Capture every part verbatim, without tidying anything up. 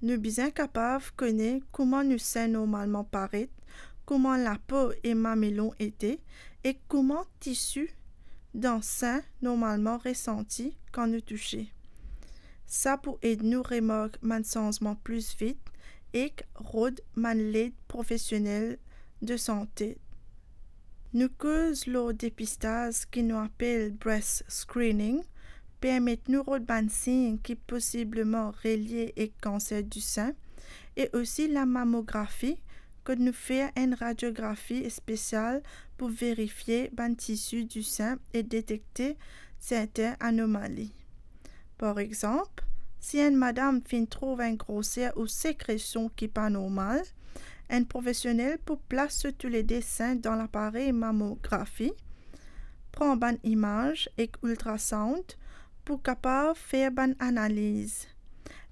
Nou bizin kapav kone kouma nou sin normalman paret, kouma lapo e mamelon ete, e kouma tisi dan sin normalman resanti kan nou touse. Sa pou ed nou remark bann sanzman plis vit ek rod bann led profesionel de sante. Nou koz lor depistaz ki nou apel breast screening, permet nou rod bann sign ki posibleman relie ek kanser disin, e osi lamamografi, kot nou fer enn radiografi spesial pou verifie bann tisi disin e detekte sertin anomali. Par exanp, si enn madam finn trouv enn groser ou sekresion ki pa normal, enn profesionel pou plas zot toulede sin dan laparey mamografi, pran bann imaz ek ultrasound pou kapav fer bann analiz.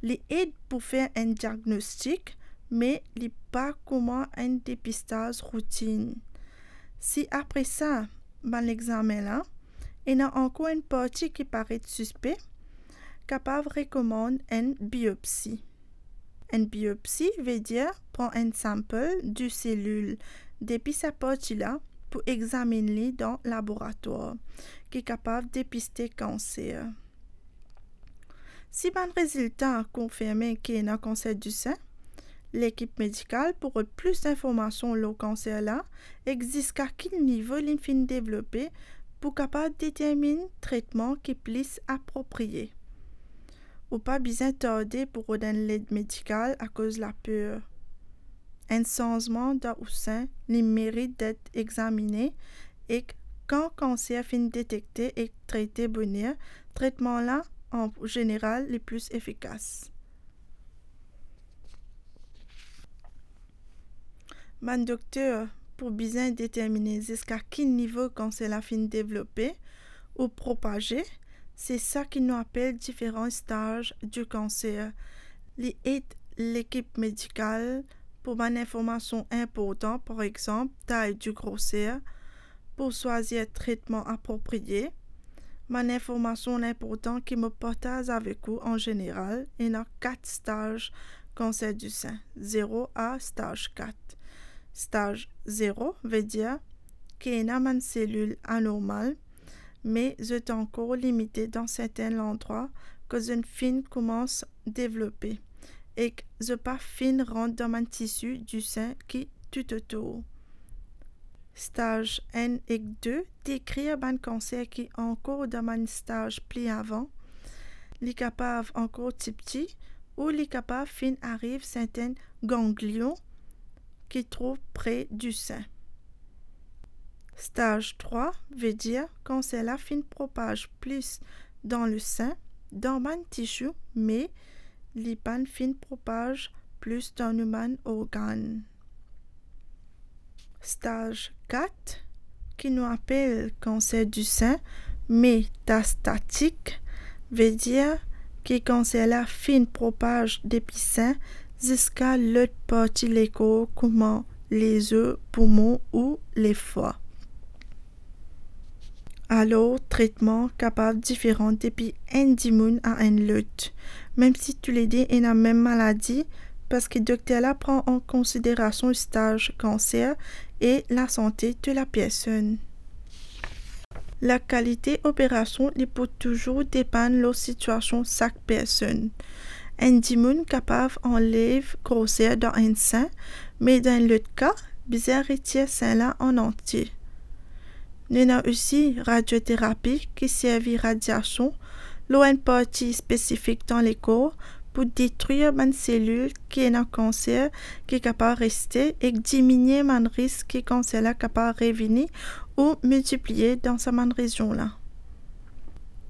Li ed pou fer enn diagnostik, me li pa kouma enn depistaz routinn. Si apre sa, bann examen la, ena ankor enn parti ki paret sispe, kapav rekomann enn biopsi. Enn biopsi vedir pran enn sample de selil depi sa parti la pou examinn li dan laboratwar ki kapav depiste kanser. Si bann rezilta konfirme ki ena kanser disin, lekip medikal pou rod plis informasion lor kanser la ek ziska ki nivo li finn devlope pou kapav determinn tretman ki plis apropriye. Ou pa bizin tarde pou rod enn led medikal akoz laper. Enn sanzman dan ou sin, li merit det examine, ek kan kanser finn detekte ek trete boner, tretman la, an zeneral, li plis efikas. Bann dokter pou bizin determine ziska ki nivo kanser la finn devlope ou propaze, se sa ki nou apel diferan staz di kanser. Li ed lekip medikal pou bann informasion inportan, par exanp, tay di groser, pou swazir tretman apropriye. Bann informasion inportan ki mo partaz avek ou an zeneral, ena kat staz kanser disin, zero a staz kat. Staz zero vedir ki ena bann selil anormal, me zot ankor limite dan sertin landrwa kot zot finn koumans devlope, ek zot pa finn rant dan bann tisi disin ki toutotour. Staz enn ek de dekrir bann kanser ki ankor dan bann staz pli avan. Li kapav ankor tipti ou li kapav finn ariv sertin ganglion ki trouv pre disin. Staz trwa vedir kanser la finn propaz plis dan lesin, dan bann tisi, me li pa'nn finn propaz plis dan nou bann organn. Staz kat, ki nou apel kanser disin metastatik, vedir ki kanser la finn propaz depi sin ziska lot parti lekor kouma lezo, poumon ou lefwa. Alor, tretman kapav diferan depi enn dimoun a enn lot, mem si toulede ena mem maladi, parski dokter la pran an konsiderasion staz kanser e lasante de lapersonn. Lakalite operasion li pou touzour depann lor sitiasion sak personn. Enn dimoun kapav anlev groser dan enn sin, me dan enn lot ka, bizin retir sin la an antie. Nou ena osi radioterapi ki servi radiasion lor enn parti spesifik dan lekor pou detrir bann selil ki ena kanser ki kapav reste ek diminie bann risk ki kanser la kapav revini ou miltipliye dan sa bann rezion la.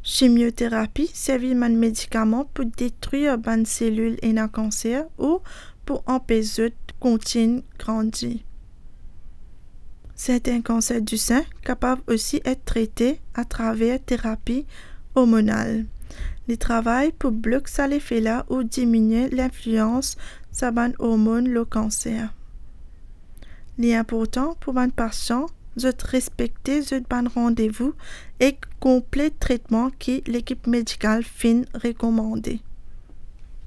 Chimioterapi servi bann medikaman pou detrir bann selil ena kanser ou pou anpes zot kontign grandi. Sertin kanser disin kapav osi et trete atraver terapi ormonal. Li travay pou blok sa lefe la ou diminie linflians sa bann ormonn lor kanser. Li inportan pou bann pasian zot respekte zot bann randevou ek konplet tretman ki lekip medikal finn rekomande.